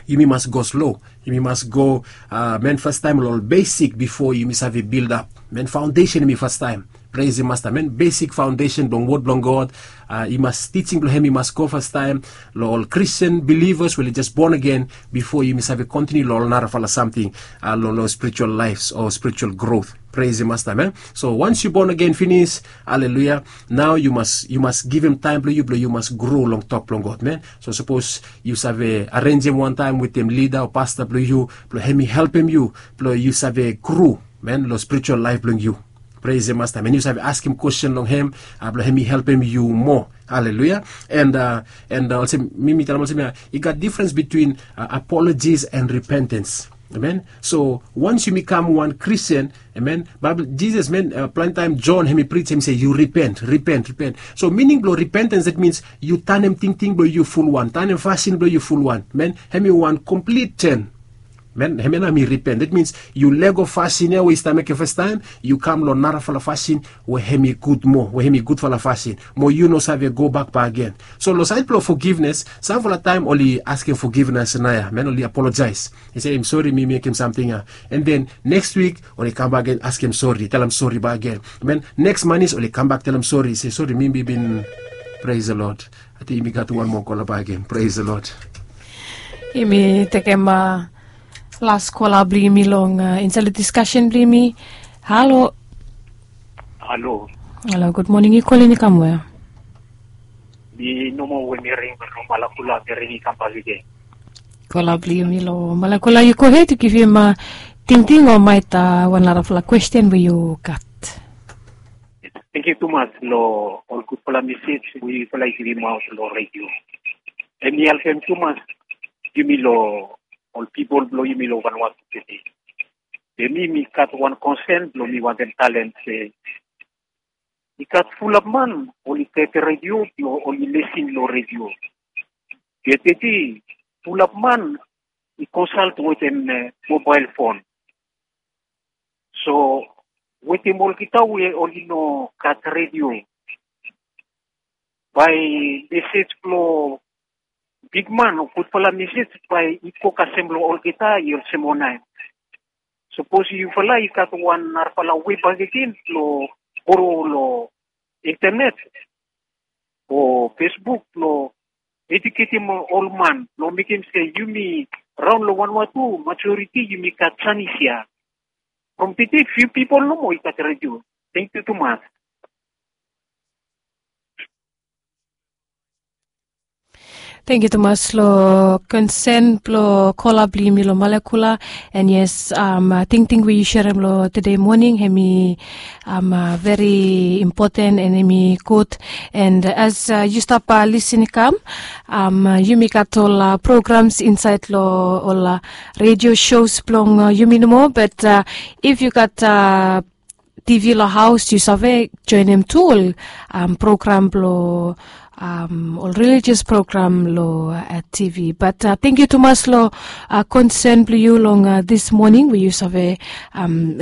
Yumi mas go slo. Yumi mas go a men, fastaem long ol besik bifo yumi save bildap. Men, faondesen hem i fastaem. Pres the Master. Men, besik faondesen blong wod blong God, a i mas, tijing blong hem i mas go fastaem long ol Christian believers we oli jes born again, bifo yumi save kontiniu long ol narafala samting a long long spiritual lives o spiritual growth. Pres the Master. Men, so waens yu born again finis, aleluia, nao yu mas yu mas givim taem blong yu blong yu mas gro long tok blong God. Men, so sapos yu save arenjem wantaem wetem lida o pasta blong yu blong hem i helpem yu blong yu save gro, men, long spiritual laef blong yu. Pres the Master. Men, yu save askem kwestin long hem a blong hem i helpem yu moa. Aleluia. And a and a olsem mi mi talem olsem ya, i gat difrens bitwin a apolojis and ripentens. Amen. So waens yumi kam wan Kristian, amen, Baebol, Jisas, men, a plante taem Jon hem i prij, hem i se yu ripent, ripent, ripent. So mining blong ripentens, that means yu tanem tingting blong yu fulwan, tanem fasin blong yu fulwan. Men, hem i wan komplit ten. Men hemia nao mi ripen, dat mins yu lego fasin ya we yu stap mekem fastaem, yu kam long narafala fasin we hem i gud moa, we hem i gudfala fasin, mo yu no save gobak bakegen. So long saed blong fogivnes, samfala taem oli askem fogivnes naoia, men oli apolojaes, i se, im sori mi mekem samting ya. An den neks wik oli kambak gen askem sori, talem sori bakegen. Men neks manis oli kambak talem sori, se, sori, mi bin, pres the Lord. Ating yumi gat wan moa kola bakegen, pres the Lord. Yumi tekem las kola blong yumi long insaed long diskasen blong yumi. Halo. Halo. Halo, gud moning. Yu kolem i kam wea? Mi nomo we mi ring long Malakula, mi ring i kambak agen. Kola blong yumi long Malakula, yu gohed, yu givim tingting o maet wan narafala kwesten we yu gat. Tangkiu tumas long ol gudfala mesej we yufala i givimaot long redio. Hem i helpem tumas yumi long ol pipol blong yumi long Vanuatu tede. Be mi mi gat wan konsen blong mi wantem talem se i gat fulap man oli tete redio blong oli lesin long redio. Be tede fulap man i konsalt wetem mobael fon. So wetem olgeta we oli no gat redio, bae mesej blong bigman o gudfala mesej bae i go kasem long olgeta i olsem wanem? Sapos yufala i gat wan narafala wei bakegen blong go long intanet o Facebook blong ejuketem ol man blong mekem se yumi raon long Vanuatu majoriti yumi gat janis ya. From tede fiu pipol nomo i gat redio. Tangkiu tumas. Tangkiu tumas long konsen blong kola blong yumi long Malakula. An yes, tingting we yu serem long tede moning hem i veri impoten an hem i gud. An as yu stap lisin i kam, yumi gat ol programs insaed long ol redio shows blong yumi nomo, bat if yu gat TV long haos yu save joenem tu ol program blong ol relijios program long TV. Bat tangkiu tumas long konsen blong yu long dis moning we yu save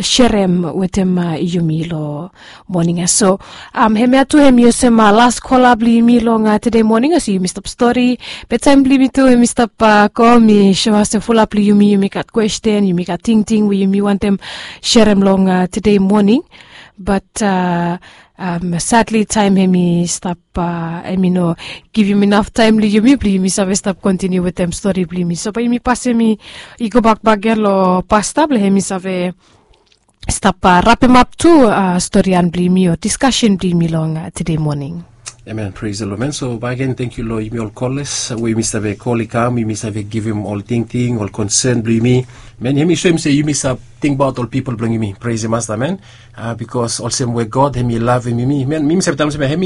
serem wetem yumi long moning ya. So hemia tu hem i olsem las kola blong yumi long tede moning, olsem yumi stap stori. Be taem blong yumi tu hem i stap go, mi soem olsem fulap long yumi yumi gat kwesten, yumi gat tingting we yumi wantem serem long tede moning. Bat sadli taem hem i stap, hem i no givim inaf taem long yumi blong yumi save stap kontiniu wetem stori blong yumi. So bae yumi pasem i gobak bakegen long pasta blong hem i save stap rapemap tu storian blong yumi o diskasen blong yumi long tede moning. Amen. Pres the Lord, man. So bakegen tangkiu long yumi ol kolas we yumi save kol i kam, yumi save givim ol tingting, ol konsen blong yumi. Man, hem i soem se yumi save tingbaot ol pipol blong yumi. Pres the Masta, man. Bikos olsem we God hem i lavem yumi, man, mi mi save talem olsem hem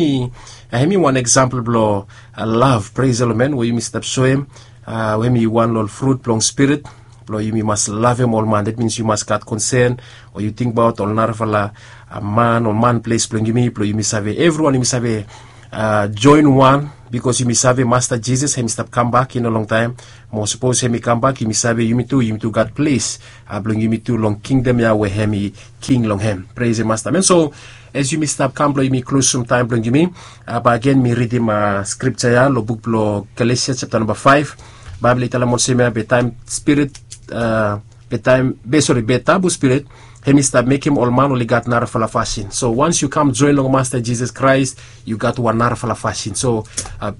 i wan eksampol blong lav, pres the Lord, man, we yumi stap soem we hem i wan long ol frut blong Spirit blong yumi mas lavem ol man. Dat mins yu mas gat konsen o yu tingbaot ol narafala man, ol man ples blong yumi, blong yumi save evriwan yumi save joen wan, bikos yumi save Masta Jisas hem i stap kambak i no longtaem. Mo sapos hem i kambak yumi save yumi tu yumi tu gat ples blong yumi tu long kingdom ya we hem i king long hem. Pres the Masta, man. So as yumi stap kam blong yumi klosum taem blong yumi, bakegen mi ridim skripja ya long buk blong Galesia japta namba faef. Baebol i talem olsem ya, be taem Spirit, be taem, be sori, be Tabu Spirit hem i stap mekem ol man oli gat narafala fasin. So wans yu kam joen long Masta Jisas Kraes, yu gat wan narafala fasin. So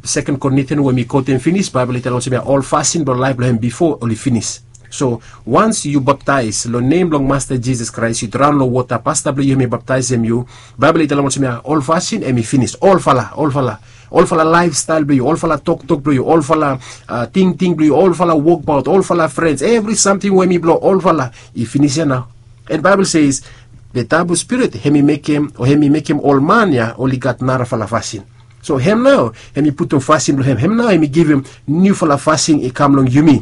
Seken Korinthian we mi kotem finis, Baebol i talem olsem ya, ol fasin blong laef blong hem bifo oli finis. So wans yu baptaes long nem blong Masta Jisas Kraes, yu draon long wota, pasta blong yu hem i baptaesem yu, Baebol i talem olsem ya, ol fasin hem i finis. Olfala, olfala, olfala laefstael blong yu, olfala toktok blong yu, olfala tingting blong yu, olfala wokbaot, olfala frens, evri samting we hem i blong olfala, i finis ya nao. An Baebol se, be Tabu Spirit hem i mekem, o hem i mekem ol man ya oli gat narafala fasin. So hem nao hem i putum fasin blong hem, hem nao hem i givim niufala fasin i kam long yumi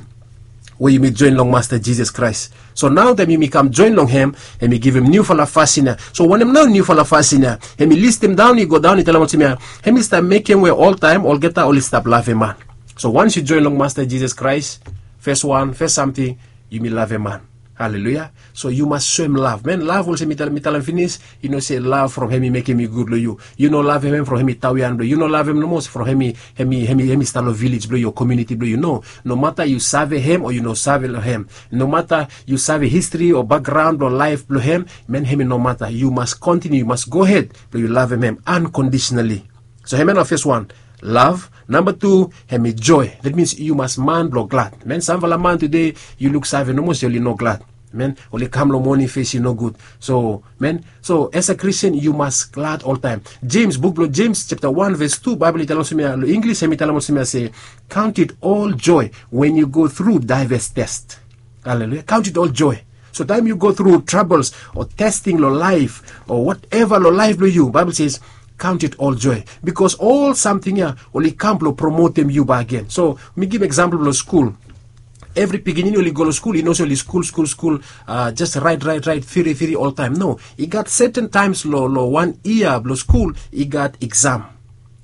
we yumi joen long Masta Jisas Kraes. So nao taem yumi kam joen long hem, hem i givim niufala fasin ya. So wanem nao niufala fasin ya? Hem i listim daon, i godaon, i talem olsem ya, hem i stap mekem we oltaem olgeta oli stap lavem man. So wans yu joen long Masta Jisas Kraes, fes wan, fes samting, yumi lavem man. Haleluya. So yu mas soem lav man, lav olsem mi talem finis. Yu no se lav from hem i mekem yu gud long yu. Yu no lavem hem from hem i tawian blong yu. Yu no lavem nomo from hem i hem i hem i hem i stap long vilej blong yu o komiuniti blong yu. No, nomata yu save hem o yu no save long hem, nomata yu save histri o bakgraon blong laef blong hem, man, hem i nomata, yu mas kontiniu, yu mas gohed blong yu lavem hem ankondisonali. So hem ya na fes wan, lav. Namba tu, hem i joe. Dat mins yu mas man blong glad man. Samfala man tude yu luk save nomo se oli no glad man, oli kam long moning fes i nogud. So man, so as a Christian yu mas glad oltaem. Jems, buk blong Jems japta wan ves tu, Baebol i talem olsem ya long Inglis, hem i talem olsem ya se, count it all joy when you go through diverse test. Haleluya. Count it all joy. So taem yu go tru trabols o testing long laef o wateva long laef blong yu, Baebol ses, count it all joy, bikos ol samting ya oli kam blong promotem yu bakegen. So mi givim eksampol blong skul. Evri pikinini oli go long skul, i no se oli skul skul skul, jes raet raet raet, firi firi oltaem. No, i gat seten taems long wan yia blong skul i gat eksam.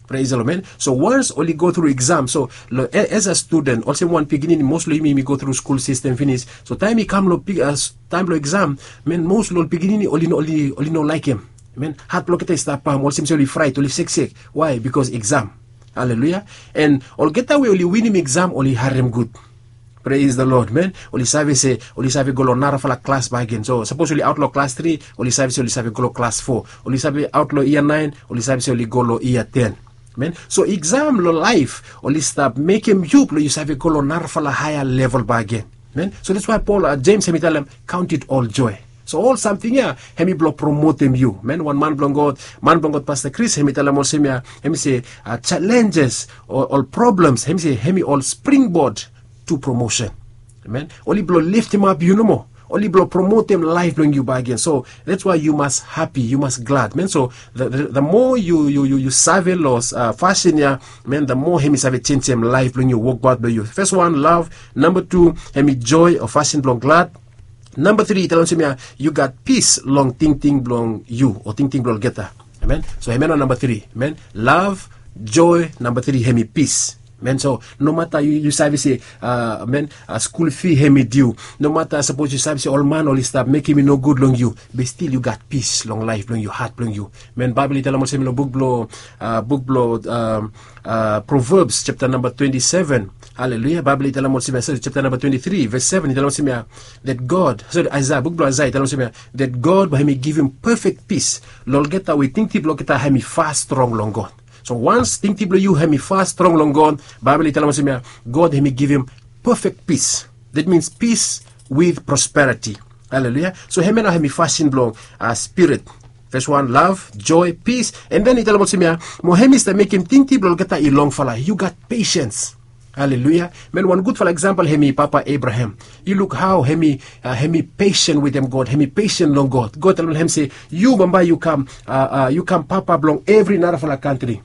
Prais long man. So wans oli go tru eksam, so long as a studen olsem wan pikinini, mos long yumi yumi go tru skul sistem finis. So taem i kam long taem blong eksam, man, mos long ol pikinini oli no laekem. Man, hat blong olgeta i stap pam, olsem se oli fraet, oli seksek. Wae? Bikos eksam. Haleluya. An olgeta we oli winim eksam oli harem gud. Prais long Lod man. Oli save se oli save go long narafala klas bakegen. So sapos oli aot long klas tri, oli save se oli save go long klas fo. Oli save aot long yia naen, oli save se oli go long yia ten. Man, so eksam long laef oli stap mekem yu blong yu save go long narafala haea level bakegen. Man, so dats wae Pol, Jems hem i talem, count it all joe. So ol samting ya hem i blong promotem yu. Man, wan man blong God, man blong God Pasta Kris, hem i talem olsem ya, hem i se, jalenjes o ol problems, hem i se hem i ol springbod tu promosen. Amen. Oli blong liftimap yu nomo, oli blong promotem laef blong yu bakegen. So dats wae yu mas hapi, yu mas glad man. So the moa yu save long fasin ya, man, the moa hem i save jenjem laef blong yu, wokbaot blong yu. Fes wan, lav. Namba tu, hem i joe o fasin blong glad. Namba tri i talem olsem ya, yu gat pis long tingting blong yu o tingting blong olgeta. Amen. So hem ya nao namba tri man, lav, joe, namba tri hem i pis. Man, so nomata yu save se, man, skul fi hem i diu, nomata sapos yu save se ol man oli stap mekem i nogud long yu, be stil yu gat pis long laef blong yu, hat blong yu. Man, Baebol i talem olsem long buk blong buk blong Proverbs japta namba twenti seven. Haleluya. Baebol i talem olsem ya, sori, japta namba twenti tri ves seven i talem olsem ya, that God, sori, Aisaea, buk blong Aisaea i talem olsem ya, that God bae hem i givim pefek pis long olgeta we tingting blong olgeta hem i fas strong long God. So wans tingting blong yu hem i fas strong long God, Baebol i talem olsem ya, God hem i givim pefek pis. Dat mins pis with prosperiti. Haleluya. So hem ya nao hem i fasin blong spirit. Fes wan, lav, joe, pis. An den i talem olsem ya, mo hem i stap mekem tingting blong olgeta i longfala. Yu gat pesens. Haleluya. Man, wan gudfala eksampol hem i papa Abraham. Yu luk hao hem i pesen wetem God, hem i pesen long God. God talem long hem se, yu bambae yu kam, yu kam papa blong evri narafala kantri.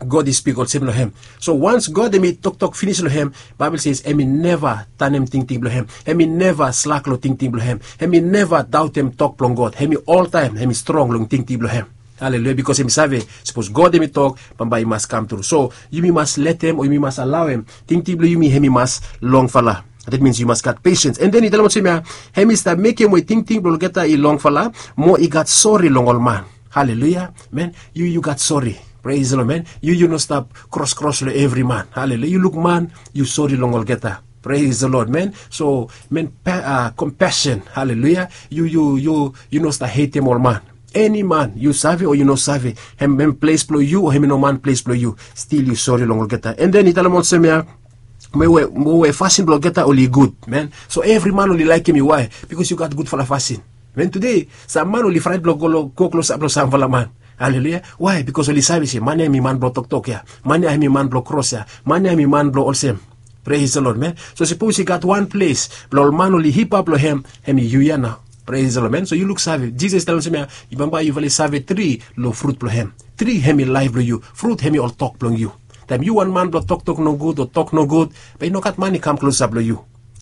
God i spik olsem long hem. So wans God hem i toktok finis long hem, Baebol se hem i neva tanem tingting blong hem. Hem i neva slak long tingting blong hem. Hem i neva daotem tok blong God. Hem i oltaem hem i strong long tingting blong hem. Haleluya. Bikos hem i save, sapos God hem i tok, bambae i mas kamtru. So yumi mas letem o yumi mas alaoem tingting blong yumi hem i mas longfala. Dat mins yu mas gat pesens. An den i talem olsem ya, hem i stap mekem we tingting blong olgeta i longfala, mo i gat sori long ol man. Haleluya. Man, yu yu gat sori. Prais long man. Yu yu no stap kroskros long evri man. Haleluya. Yu luk man, yu sori long olgeta. Prais long Lod man. So man, kompesen. Haleluya. Yu yu yu yu no stap hetem ol man. Eni man, yu save o yu no save, hem hem ples blong yu o hem i no man ples blong yu, stil yu sori long olgeta. An den i talem olsem ya, mo we fasin blong olgeta oli gud man. So evri man oli laekem yu. Wae? Bikos yu gat gudfala fasin. Man, tude sam man oli fraet blong go klosap long samfala man. Haleluya. Wae? Bikos oli save se man ya hem i man blong toktok ya, man ya hem i man blong kros ya, man ya hem i man blong olsem. Prais long Lod man. So sapos i gat wan ples blong ol man oli hipap long hem, hem i yu ya nao. Prais long Lod man. So yu luksave, Jisas i talem olsem ya, bambae yufala i save tri long frut blong hem. Tri hem i laef blong yu. Frut hem i ol tok blong yu. Taem yu wan man blong toktok nogud o tok nogud, bae i no gat man i kam klosap long yu.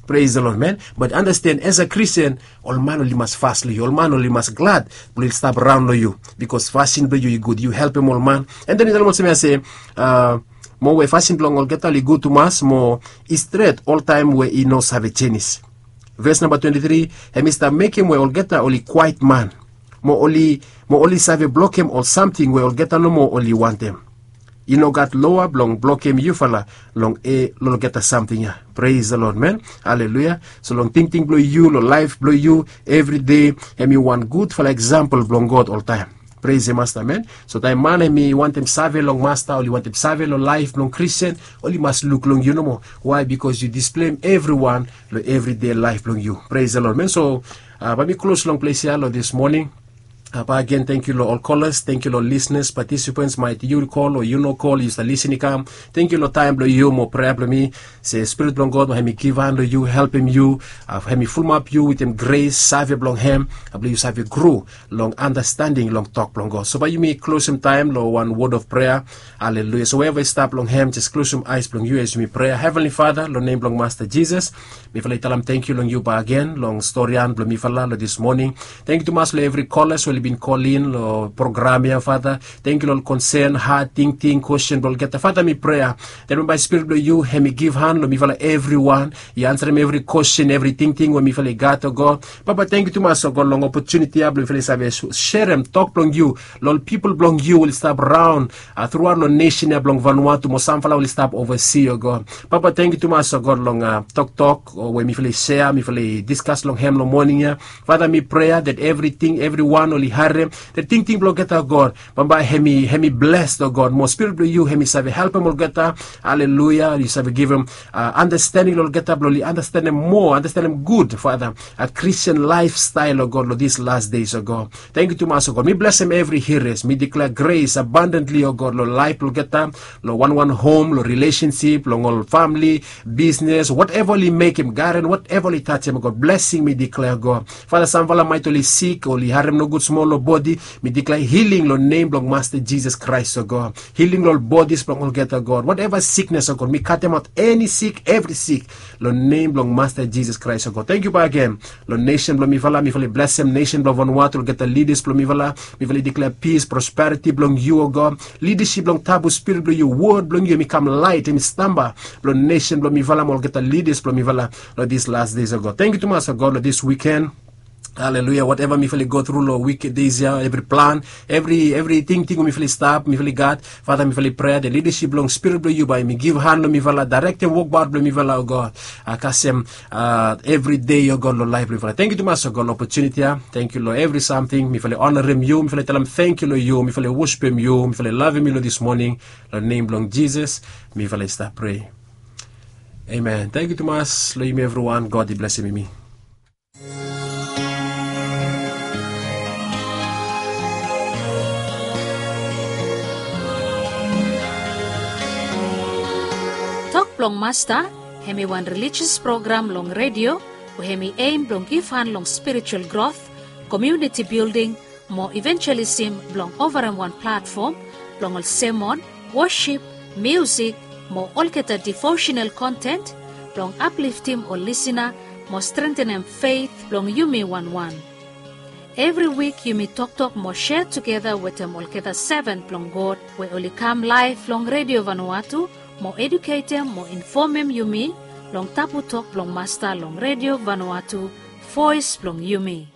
Prais long Lod man. Bat anasten, as a Kristin, ol man oli mas fas long yu, ol man oli mas glad blong oli stap raon long yu, bikos fasin blong yu i gud, yu helpem ol man. An den i talem olsem ya se, mo we fasin blong olgeta oli gud tumas, mo i stret oltaem we i no save jenis. Ves namba twenti tri, hem i stap mekem we olgeta oli kwaet man, mo oli mo oli save blokem ol samting we olgeta nomo oli wantem. I no gat loa blong blokem yufala long e long olgeta samting ya. Pres the lod man. Haleluya. So long tingting blong yu long laef blong yu, evride hem i wan gudfala eksampel blong god oltaem. Pres the masta man. So taem man hem i wantem save long masta oli wantem save long laef blong kristian, oli mas luk long yu nomo. Wae bikos yu displeim evriwan long evride laef blong yu. Pres the lod man. So bae mi klos long ples ya long dis moning. Bae agen tengkiu long ol kolas, tengkiu long ol lisnas, patisipens maet yu kol o yu no kol yu stap lisin i kam. Tengkiu long taem blong yu mo prea blong mi se spirit blong god bae hem i givhan long yu helpem yu, hem i fulumap yu wetem gres save blong hem blong yu save gru long andastending long tok blong god. So bae yumi klosem taem long wan wod of prea. Haleluya. So we eva i stap long hem jes klosem aes blong yu as yumi prea. Hevenli fada, long nem blong masta jisas, mifala i talem tengkiu long yu bagen long storian blong mifala long dis moning. Tengkiu tumas long evri kolas we oli bin kolin long program ya fada. Tengkiu long ol konsen had tingting kwestin blong olgeta fada mi prea, dat mi bae spirit blong yu hem i givhan long mifala evriwan, i ansarem evri kwestin evri tingting we mifala i gat o god. Papa tengkiu tumas o god long opotuniti ya blong mifala i save serem tok blong yu long ol pipol blong yu we oli stap raon truaot long nesen ya blong vanua tu mo samfala oli stap ovasi o god. Papa tengkiu tumas o god long toktok we mifala i sea mifala i diskas long hem long moning ya. Fada mi prea dat evriting evriwan oli harem dat tingting blong olgeta god bambae hem i bles o god mo spirit blong yu hem i save helpem olgeta. Haleluya yu save givim andastending long olgeta blong oli andastendem moa andastendem gud fada. Kristian laefstael o god long dis las des o god. Tengkiu tumas o god mi blesem evri hiras mi diklea gres abandentli o god long laef blong olgeta, long wanwan hom long rilesensip long ol famili, bisnes wateva oli mekem garen wateva oli tajem o god blesing mi diklea god. Fada samfala maet oli sik oli harem nogud smol long bodi, mi diklea hiling long nem blong masta jisas kraes o god. Hiling long ol bodis blong olgeta god wateva siknes o god mi katemaot eni sik evri sik long nem blong masta jisas kraes o god tengkiu bagen. Long nesen blong mifala mifala i blesem nesen blong vanua tu olgeta lidas blong mifala. Mifala i diklea pis prosperiti blong yu o god. Lidasip blong tabu spirit blong yu wod blong yu hem i kam laet hem i stamba blong nesen blong mifala mo olgeta lidas blong mifala long dis las des o god tengkiu tumas o god long dis wiken. Haleluya wateva mifala i gotru long wik des ya evri plan evri evri tingting we mifala i stap mifala i gat. Fada mifala i prea dat lidasip blong spirit blong yu bae mi givhan long mifala daerektem wokbaot blong mifala o god. Kasem evri dei o god long laef blong mifala tengkiu tumas o god long opotuniti ya. Tengkiu long evri samting mifala i onarem yu mifala i talem tengkiu long yu mifala i wosipem yu mifala i lavem yu long dis moning. Long nem blong jisas mifala i stap prea. Amen tengkiu tumas long yumi evriwan god i blesem yumi. Tok blong masta hem i wan relijias program long redio we hem i em blong givhan long spiritual grot, komiuniti bilding, mo ivenjelisim blong ovarem wan platfom blong ol semon, wosip, miusik, mo olgeta divosenal kontent blong apliftim ol lisina mo strentenem feit blong yumi wanwan. Evri wik yumi toktok mo sea tugeta wetem olgeta seven blong god we oli kam laef long redio vanua tu mo eduketem mo infomem yumi long tabu tok blong masta long redio vanua tu, voes blong yumi.